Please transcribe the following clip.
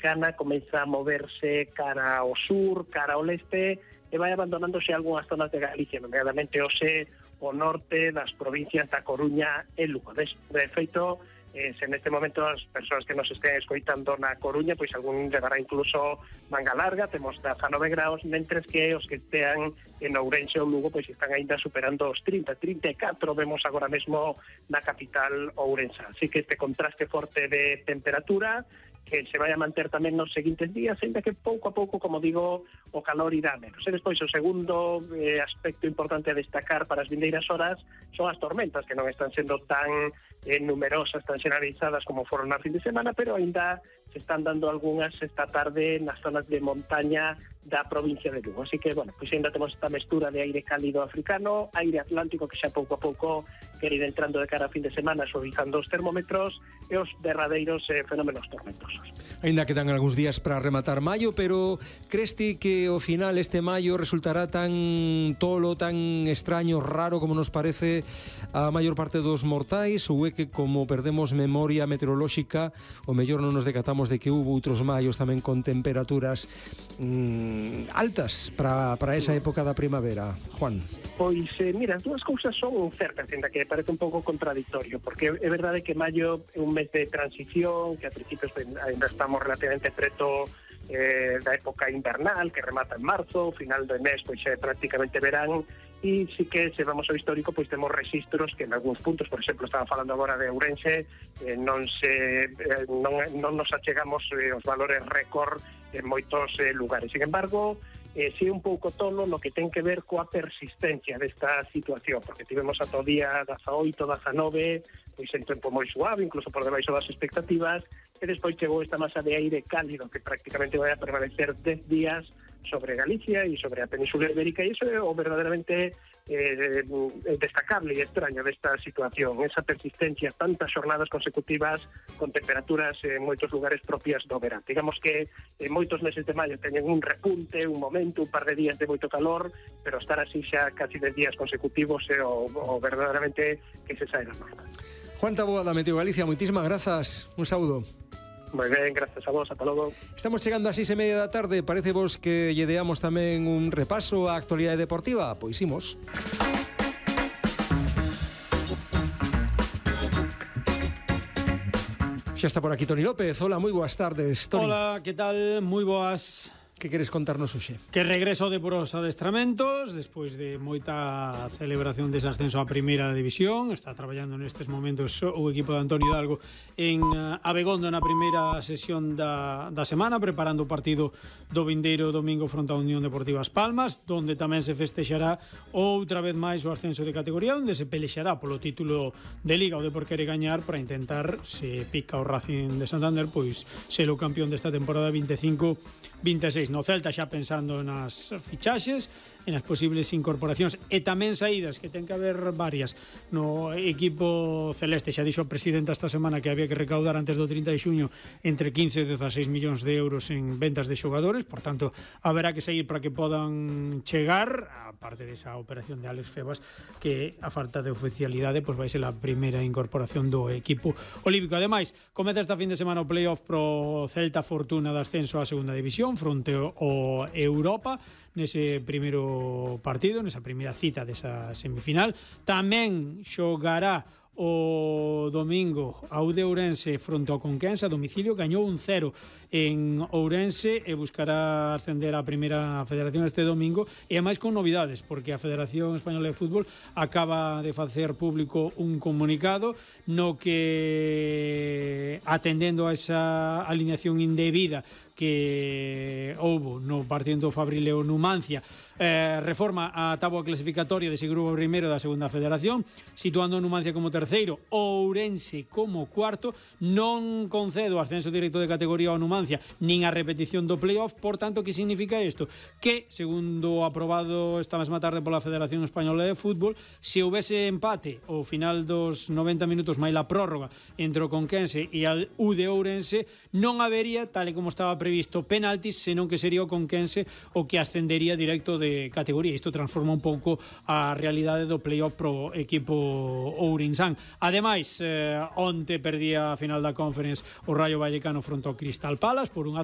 africana comeza a moverse cara ao sur, cara ao leste, e vai abandonándose algunhas zonas de Galicia, nomeadamente o norte das provincias da Coruña e Lugo. De feito, se neste momento as persoas que nos estén escoitando na Coruña, pois algún llegará incluso manga larga, temos 19 graus, mentres que os que estean en Ourense ou Lugo pois están aínda superando os 30, 34 vemos agora mesmo na capital ourensa. Así que este contraste forte de temperatura que se vai a manter tamén nos seguintes días, ainda que pouco a pouco, como digo, o calor irá menos. E despois o segundo aspecto importante a destacar para as vindeiras horas son as tormentas, que non están sendo tan numerosas, tan xeneralizadas como foron na fin de semana, pero ainda se están dando algunhas esta tarde nas zonas de montaña da provincia de Lugo. Así que, bueno, pois ainda temos esta mestura de aire cálido africano, aire atlántico que xa pouco a pouco quere ir entrando de cara a fin de semana, suavizando os termómetros e os derradeiros fenómenos tormentosos. Ainda quedan algúns días para rematar maio, pero crees ti que ao final este maio resultará tan tolo, tan extraño, raro como nos parece a maior parte dos mortais, ou é que como perdemos memoria meteorolóxica, o mellor non nos decatamos de que hubo outros maios tamén con temperaturas altas para esa época da primavera, Juan? Pois, mira, as dúas cousas son certas, ainda que parece un pouco contradictorio, porque é verdade que maio é un mes de transición, que a principios ainda estamos relativamente preto da época invernal, que remata en marzo, final do mes pois é prácticamente verán, e sí que se vamos ao histórico pois temos registros que en algúns puntos, por exemplo, estaba falando agora de Ourense, non nos achegamos os valores récord en moitos lugares. Sin embargo, si é un pouco tolo no que ten que ver coa persistencia desta situación, porque tivemos ata o día 18, 19, pois en tempo moi suave, incluso por debaixo das expectativas, e despois chegou esta masa de aire cálido que prácticamente vai a permanecer 10 días sobre Galicia e sobre a Península Ibérica, e iso é o verdadeiramente destacable e extraño desta situación, esa persistencia, tantas xornadas consecutivas con temperaturas en moitos lugares propias do verán. Digamos que en moitos meses de maio teñen un repunte, un momento, un par de días de moito calor, pero estar así xa casi 10 días consecutivos é o verdadeiramente que se sae da norma. Juan Taboada da Meteo Galicia, moitísimas grazas, un saúdo. Moi ben, grazas a vos, ata logo. Estamos chegando ás 6:30 da tarde, parece vos que lle deamos tamén un repaso á actualidade deportiva? Pois imos. Xa está por aquí Toni López. Hola, moi boas tardes, Toni. Hola, que tal? Moi boas. Que queres contarnos hoxe? Que regreso de poros adestramentos despois de moita celebración dese ascenso á primeira división. Está traballando nestes momentos o equipo de Antonio Hidalgo en Abegondo na primeira sesión da semana, preparando o partido do vindeiro domingo fronte á Unión Deportiva As Palmas, donde tamén se festexará outra vez máis o ascenso de categoría, onde se pelexará polo título de Liga. O Depor quere gañar para intentar, se pica o Racing de Santander, pois ser o campeón desta temporada 25-26. No Celta xa pensando nas fichaxes, en as posibles incorporacións e tamén saídas, que ten que haber varias no equipo celeste. Xa dixo o presidente esta semana que había que recaudar antes do 30 de xuño entre 15 e 16 millóns de euros en ventas de xogadores, por tanto, haberá que seguir para que podan chegar, aparte desa operación de Alex Febas, que a falta de oficialidade pois vai ser a primeira incorporación do equipo olímpico. Ademais, comeza esta fin de semana o playoff pro Celta Fortuna de ascenso á segunda división fronte o Europa, nese primeiro partido, nesa primeira cita desa semifinal. Tamén xogará o domingo a UD Ourense fronte ao Conquense a domicilio. Gañou 1-0 en Ourense e buscará ascender á primeira federación este domingo, e máis con novidades, porque a Federación Española de Fútbol acaba de facer público un comunicado no que, atendendo a esa alineación indebida que houbo no partido do Fabrileo Numancia, reforma a táboa clasificatoria dese grupo primeiro da segunda federación, situando Numancia como terceiro, Ourense como cuarto. Non concedo ascenso directo de categoría ao Numancia nin a repetición do playoff. Por tanto, que significa isto? Que, segundo aprobado esta mesma tarde pola Federación Española de Fútbol, se houvese empate ao final dos 90 minutos máis la prórroga entre o Conquense e a UD Ourense, non habería, tal e como estaba previsto, penaltis, senón que sería o Conquense o que ascendería directo de categoría. Isto transforma un pouco a realidade do playoff pro equipo ourinsán. Ademais, onte perdía a final da Conference o Rayo Vallecano fronte ao Crystal Palace por 1-0.